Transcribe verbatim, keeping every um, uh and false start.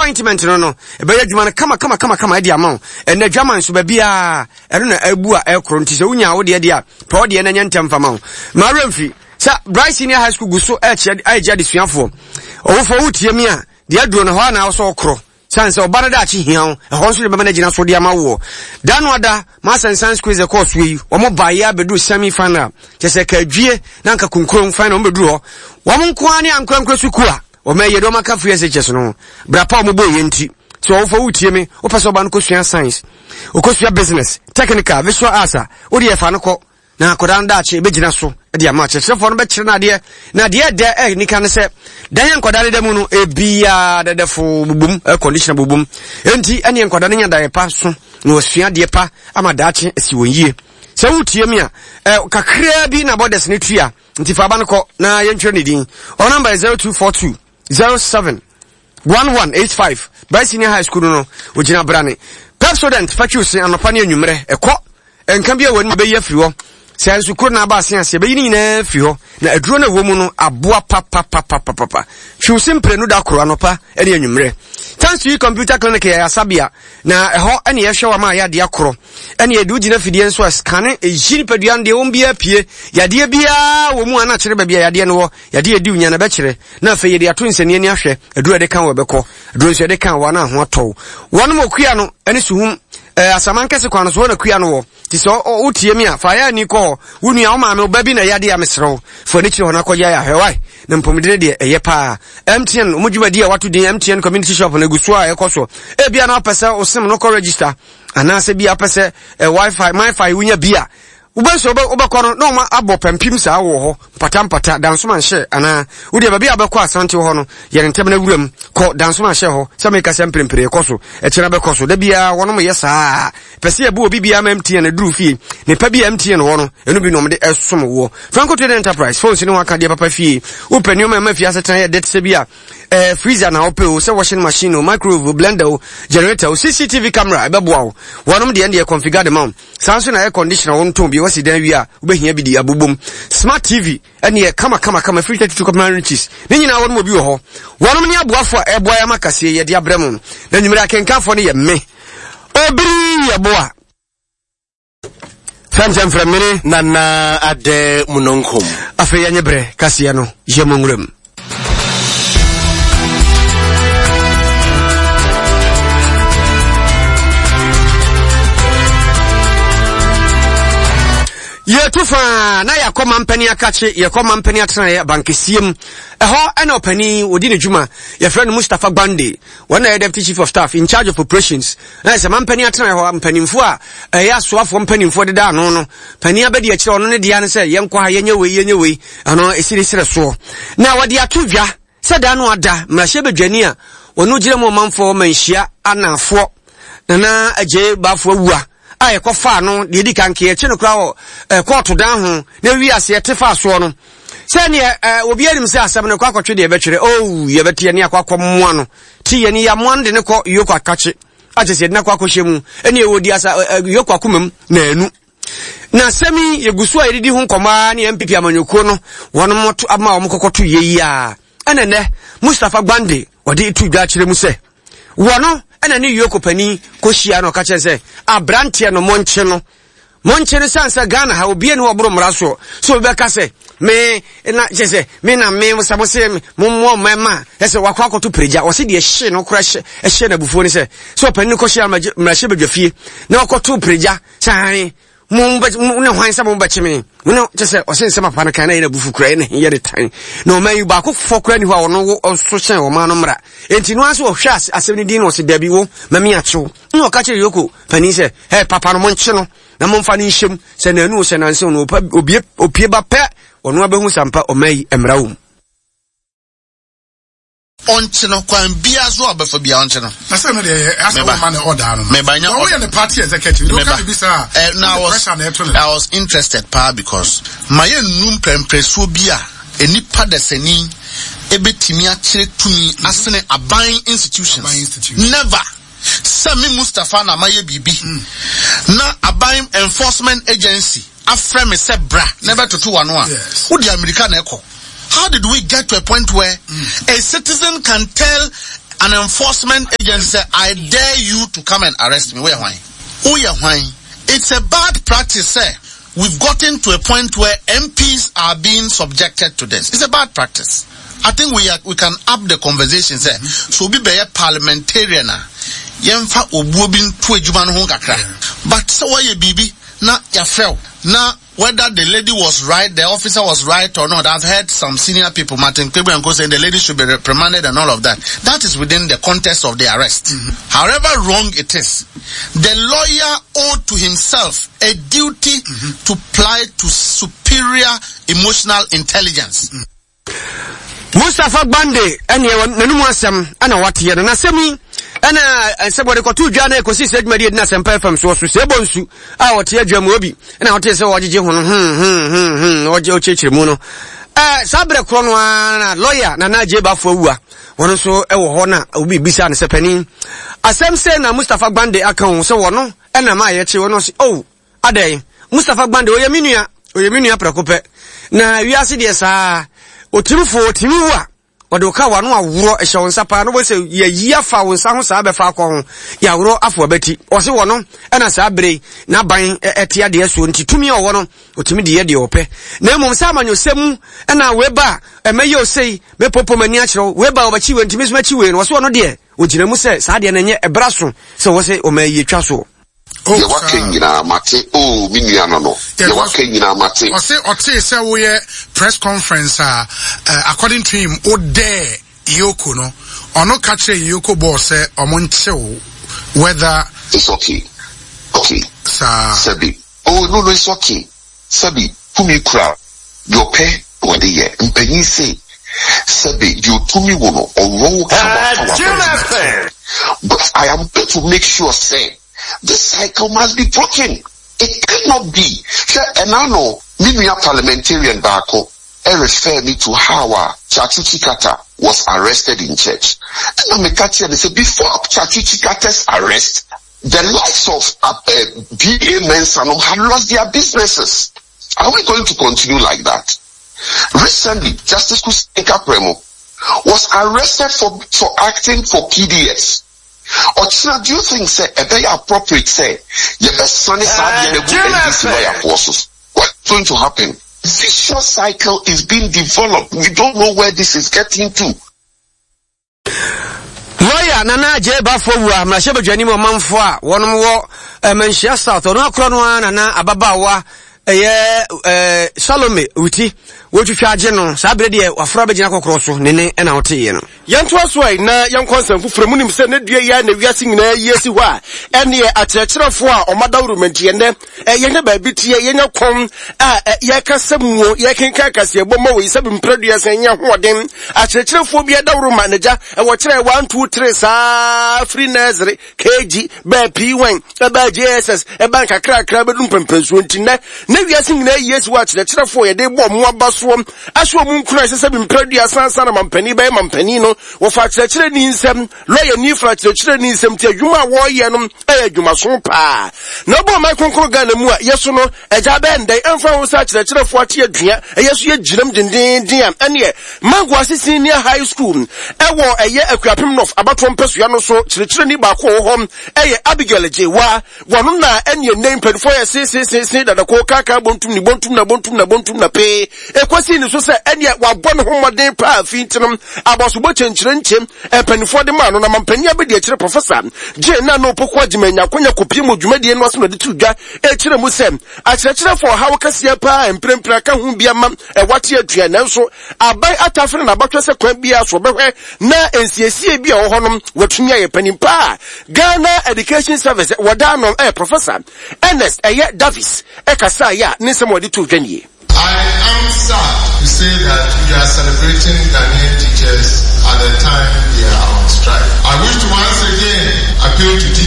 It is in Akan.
ointment no no ɛbɛyɛ adwuma no kama kama kama kama ɛde ama wo. Ɛnɛ dwama nso baabiaa ɛno na abu a ɛkorɔ, nti sɛ wonya wo deɛ deɛ a, pɛ wo deɛ na nyɛ ntɛm fama wo. Maa werɛ mfi sɛ Bright Senior High School gu so ɛkyɛ ɛgye adesuafoɔ. Ɔwofoɔ, wotie mi a, deɛ aduro no hɔ a na wosɛ ɔkorɔ sane sɛ ɔba no daakye hia wo, ɛhɔ nso de bɛma no agyina so de ama woɔ. Da no ada Mass and Science quiz ɛkɔɔ soɔ yi, wɔn baeɛ abɛduru semi final, kyɛ sɛ kaadwie na nka kunkurom final, wɔn bɛduru hɔ, wɔn nko ara ne ankorankora sukuu a wɔn ayɛ de wɔn aka free S H S no ho brapa a wɔn bɔ yɛ. Nti sɛ ɔwofoɔ wotie me, wopɛ sɛ ɔba no kɔsua science, ɔkɔsua business, technical, visual arts a, wode yɛfa no kɔ na akwadaa no daakye ɛbɛgyina so de ama akyerɛkyerɛfoɔ no bɛkyerɛ no adeɛ. Na deɛ ɛdɛ ɛnika ne sɛ dan yɛ nkwadaa no da mu no ebiaa dɛdɛfo bubum, air conditioner bubum, enti ɛneɛ nkwadaa no nya daeɛ pa so na wɔasua adeɛ pa ama daakye asi wɔn yie. Sɛ wotie mi a, ɛ kakraa bi na borders no tua, nti fa aba no kɔ na yɛntwerɛ ne din. Ɔ number yɛ zero two four two zero seven one one eight five. Bright Senior High School no no ogyina brane. Pepsodent fatwiw se anɔpa ne anwummerɛ, ɛkɔ nka bi a wɔn bɛyi afiri hɔ sɛ nso kuro na aba ase ase, ɛbɛyi ne nyinaa firi hɔ, na aduro no ɛwɔ mu no aboa papapapapapa. Twiw se mprenu da koro, anɔpa ne anwummerɛ. Thanks to You Computer Clinic yɛ asabea na ɛhɔ ɛne yɛhwɛ wɔ ma a yɛadeɛ akorɔ, ɛne yɛde wogyina fidie nso a scan ɛyi nipadua no deɛ wɔn biara pie, yadeɛ biara wɔ mu a na kyerɛ baabi a yadeɛ no wɔ, yadeɛ yɛdi wo nya na bɛkyerɛ, na afei yɛde ato nsania ani ahwɛ aduro yɛde ka wɔ bɛkɔ aduro nso yɛde ka wɔ na ho atɔw. Wɔnom okua no ɛne Suhum ɛɛ Asaman kɛse kwan no so hɔ na kua no wɔ. Ti sɛ wotie mi a, fa yɛ ani kɔ hɔ. Wo nua, wo maame, wo ba bi na yadeɛ a, mesrɛ wo, fa ani kyerɛ hɔ na akɔgye ayɛ ahwɛ wae na mpɔmuden deɛ ɛyɛ paa. M T N ɔmo dwumadi a wato din M T N Community Shop no egu so a ɛkɔ so. Ebia na wopɛ sɛ wo SIM no kɔ register, anaasɛ bi a wopɛ sɛ ɛ WiFi, MiFi wonya bi a wobɛsɛ wobɛkɔ no na ɔma abɔ pampim saa wɔ hɔ mpata mpata Dansoma nhyɛ, anaa wodeɛ baabi a wobɛkɔ Asante hɔ no, yɛne ntɛm no awuram kɔ Dansoma nhyɛ hɔ. Sɛ meka sɛ mprempren ɛkɔ so, ɛkyena bɛkɔ so, da biara wɔnom yɛ saa pɛ sɛ yɛbɔ obi biara ma M T N aduru fie nipa bi a M T N wɔ no, ɛno bi na ɔmde ɛsom woɔ. Franco Trading Enterprise, phones ne ho aka deɛ papa fie, wopɛ nneɔma ɛma fie asetena yɛ dɛ te sɛ bi a eh, freezer na wopɛ o, sɛ washing machine o, microwave o, blender o, generator o, C C T V camera, ɛbɛboa wo. Wɔnom deɛ deɛ configure de ma wo. Saa nso na air conditioner wo ntɔn bi wasi dan wie a, wobɛhia bi de abobom. Smart T V ɛneɛ kama kama kama free thirty two kɔpem inches ne nyinaa wɔnom obi wɔ hɔ. Wɔnom ne aboafo a ɛboa yɛ ama kaseɛ yɛde abrɛ mu na nwumere akenkanfoɔ no yɛ me Obiri Yɛboa fɛmkyɛmfrɛ mene Nana Adɛ Munonkom. Afei yɛnyɛ berɛ kaseɛ no yɛ mu nwuram. Yɛtu faa na yɛakɔ mampani akakye, yɛkɔ mampani atenaeɛ bankɛseɛ mu. Ɛhɔ ɛna ɔpani wɔdi ne dwuma, yɛfrɛ no Mustapha Gbande, wɔn na yɛ deputy chief of staff in charge of operations. Na sɛ mampani atenaeɛ hɔ mpanimfoɔ a ɛyɛ asoafoɔ mpanimfoɔ deda ano no, panin abɛdi akyerɛ ɔno ne deɛ no sɛ yɛnkɔ ha, yɛnyɛ wei, yɛnyɛ wei, ɛno ɛsi ne serɛ soɔ. Na wɔde ato dwa sɛ da no ada mmarahyɛ badwani a wɔno gyina mu ɔmanfoɔ Manhyia Anafoɔ, Nana Agye Baafo Awua, a yɛkɔfaa no deɛ di kan keɛ no koraa wɔ kɔɔto dan ho na wi aseɛ te fa soɔ no sɛneɛ obi anim sɛ asɛm no kɔ akɔtwe deɛ ɛbɛtwerɛ oh yɛbɛte yɛne akɔ akɔmmoa no ti yɛne yɛamoa no de ne kɔ Yoko akakye akyɛ sɛ yɛde no akɔ akɔhyɛ mu ɛne ɛwɔ di asa Yoko akoma mu na anu. Na asɛm yi yɛgu so a yɛdedi ho nkɔmmɔ a ne N P P amanyɔkuo no wɔnom to ama wɔn kɔkɔto yie yi a, ɛna nnɛ Mustapha Gbande ɔde to dwa akyerɛ mu sɛ wɔno ɛna ne Yoko panin kɔhyia no, ɔka kyerɛ sɛ aberanteɛ no monkye no, monkye no sane sɛ Ghana ha obie ne wɔboro mmara soɔ so obi bɛka sɛ me na kyɛ sɛ me na me sɛ mo se mommoa mmarima a ɛsɛ wakɔ akɔto pirigya. Wɔse deɛ hye no kora hyɛ no abufuo ne sɛ sɛ ɔpanin no kɔhyia mmarahyɛ badwa fie na ɔkɔto pirigya sɛ han mo ne hwan sɛ mobɛkye me mo ne kyɛ sɛ ɔse nsɛm papa no kan na yɛ n'abufu kura yɛ ne yɛ ne tan na ɔma yi baako fɔ kura ni hɔ a ɔno ɔso hyɛn ɔma no mmara. Enti no ara sɛ ɔhwɛ asɛm no din na ɔse dabi, wo mami akyew, na ɔka kyerɛ Yoko panin sɛ ɛ papa no monkye no na momfa no nhyɛm sɛ nanu sɛ nansew no obie opie ba pɛ, ɔno abɛhu sampa ɔma yi mmara wɔ mu. Ɔnkye no kwan biara so a ɔbɛfa biara, ɔnkye no. Na sɛ no deɛ asɛ wɔma ne ɔdaa no meba nya na woyɛ ne party executive meba bi saa. Eh, na I was pressure na ɛto ne I was interested paa because ma yɛ nnu mprɛmprɛsoɔ bi a nipa dasani ebetumi akyerɛ tumi asene aban institutions. Aban institutions. Never sɛ me Mustapha na mayɛ biribi na aban enforcement agency afrɛ me sɛ bra na ɛbɛtoto wano a Yes. wode Amerika na ɛkɔ. How did we get to a point where mm. a citizen can tell An enforcement agency sɛ I dare you to come and arrest me, woyɛ hwan? Woyɛ hwan? It's a bad practice sɛ we've gotten to a point where M Ps are being subjected to this. It's a bad practice. I think we are, we can up the conversation sɛ so obi bɛyɛ parliamentarian a, yɛmfa obuo bi nto adwuma no ho kakra. But sɛ wɔyɛ biribi na yɛafrɛ wo na whether the lady was right, the officer was right or not, I've heard some senior people, Martin Kpebu and co, saying the lady should be reprimanded and all of that. That is within the context of the arrest. Mm-hmm. However wrong it is, the lawyer owed to himself a duty mm-hmm. to apply to superior emotional intelligence. Mm-hmm. Mustapha Gbande ɛne n'anum asɛm ɛna wateɛ no n'asɛm yi ɛna sɛ wɔde kɔto dwa na ɛkɔsi sɛ adwumadi adi na Asɛmpa F M soɔ so sɛ ɛbɔ nsu a ɔte adwa mu obi ɛna ɔte sɛ ɔgyegye ho no hmm hmm hmm hmm ɔgye ɔkyerɛkyerɛ mu no. Ɛɛ saa berɛ korɔ no ara na lɔya Nana Agye Bafo Awua wɔn nso ɛwɔ hɔ na obi bisa no sɛ, panin, asɛm sɛ na Mustapha Gbande aka ho sɛ wɔno ɛna ma yɛkye wɔn ɔse, oh, adɛn, Mustapha Gbande ɔyɛ me nua, ɔyɛ me nua prɛko pɛ na wiase deɛ saa otimi fo otimi wu a ɔde wo ka wano aworɔ ɛhyɛ wo nsa paa na wɔsɛ yɛyi afa wo nsa ho saa bɛfa akɔ ho yɛaworɔ afo abati. Ɔse wɔ no ɛna saa bere n'aban ɛte adeɛ soɔ nti tumi a ɔwɔ no ɔtumi de yɛ deɛ ɔpɛ, na mmom sɛ amanyɔsɛm mu ɛna weba a ɛmɛyɛ osei mɛpopo m'ani akyerɛ wo, weba a ɔbɛkyi wei ntumi so mɛkyi wei no, ɔse ɔno deɛ ɔgyina mu sɛ saa deɛ no ɛnyɛ ɛbra so sɛ wɔ sɛ ɔma yie twa soɔ. Deɛ waka nyinaa mate o, me nua no no deɛ waka nyinaa mate. Ɔse ɔtee sɛ woyɛ press conference a, uh, according to him, wo dare EOCO no, ɔno ka kyerɛ EOCO boss sɛ ɔmo nkyew whether It's okay okay Saa. Sɛbi, oh, no no it's okay. Sɛbi, tumi kura deɛ ɔpɛ wɔde yɛ mpanyin se sɛbi deɛ otumi wo no ɔwɔ wo ka wafa wabɛn, but I am going to make sure say this cycle must be broken. It cannot be. Hwɛ, ɛna no me nua parliamentarian baako refer me to how a Tsatsu Tsikata was arrested in church. Ɛna meka kyerɛ no sɛ before Tsatsu Tsikata's arrest, the likes of uh, uh, B A. Mensah had lost their businesses. Are we going to continue like that? Recently, Justice Kusi Premo was arrested for, for acting for P D S. Ɔkyena, do you think sɛ ɛbɛyɛ appropriate sɛ yɛbɛsane saa adeɛ no agu N D C lawyer so? What's going to happen? Vicious cycle is being developed. We don't know where this is getting to. Lawyer Nana Agye Bafo wu a mmarahyɛbadwani mu ɔmanfoɔ a wɔnom wɔ Manhyia South, ɔno akorɔ no ara nana ababaawa ɛyɛ ɛɛ Salome Wuti wɔtwitwa agye no saa berɛ deɛ wafra bɛgyina kɔkorɔ so ne ne ɛna woteeɛ no. Yɛntoa so a na yɛnkɔ nsɛm foforɔ mu. Nim sɛ ne dua yi a na wiase nyinaa yi asi hɔ a ɛneɛ akyerɛkyerɛfoɔ a ɔma dawuro mɛnti ɛnɛ yɛnyɛ baabi teɛ yɛnyɛ kɔn a yɛkasa muo yɛkenka kaseɛbɔ ma wɔ yi sɛ mprɛdua sɛ nyɛ hoɔden akyerɛkyerɛfoɔ bi adaworo ma n'agya ɛwɔ kyerɛ one, two, three saa firi nursery, K G, bɛɛ P one, ɛbɛɛ J S S, ɛbɛn kakrakra bɛdu mpɛmpɛnsuo. Nti nnɛ na wiase nyinaa yi asi hɔ akyerɛkyerɛfoɔ yɛde bɔ ɔmo aba soɔ ahyɛ ɔmo nkura ɛsɛ sɛ mprɛdua sansa na mampanin bɛyɛ mampanin no wɔfa akyerɛkyerɛni nsɛm lɔyɛni fa akyerɛkyerɛni nsɛm nti adwuma a wɔreyɛ no ɛyɛ adwumaso paa na ɔbɔ ɔman kronkron Ghana mu a yɛso no agya bɛɛ ndɛn ɛmfa ho sɛ akyerɛkyerɛfoɔ ate adua ɛyɛ so yɛgyinam dendenden a ɛneɛ Mangoase Senior High School ɛwɔ ɛyɛ Akuapem North abatoɔ mpɛsua no so kyerɛkyerɛni baako wɔ hɔ ɛyɛ Abigail Gyewa. Wɔno na ɛneɛ nnɛ mpanimfoɔ yɛ seeseesee dadako kaka bontum ne bontum na bontum na bontum na pee ɛkɔsii ne so sɛ ɛneɛ wabɔ ne ho mmɔden paa fi nti no abɔsobɔ kyɛnkyerɛnkyɛm mpanimfoɔ de maa no na mampanin abɛdi akyerɛ Professor Gye na no Poko Agyima nya akonya kɔpie mu dwumadie no ase na ɔde to dwa ɛkyerɛ mu sɛ akyerɛkyerɛfoɔ ɔhaw kɛseɛ paa mprempren aka ho bi ama ɛwate atua, nanso aban atafere na abatwɛ sɛ kwan biara so ɔbɛhwɛ na nsiesie bi a ɛwɔ hɔ nom watumi ayɛ. Panin paa Ghana Education Service wɔda no ɛyɛ Professor Ernest ɛyɛ Davis ɛkasa yɛ a ne nsɛm a wɔde to dwa nie. I am sad to say that we are celebrating Ghanaian teachers at the time they are on strike. I wish to once again appeal to teachers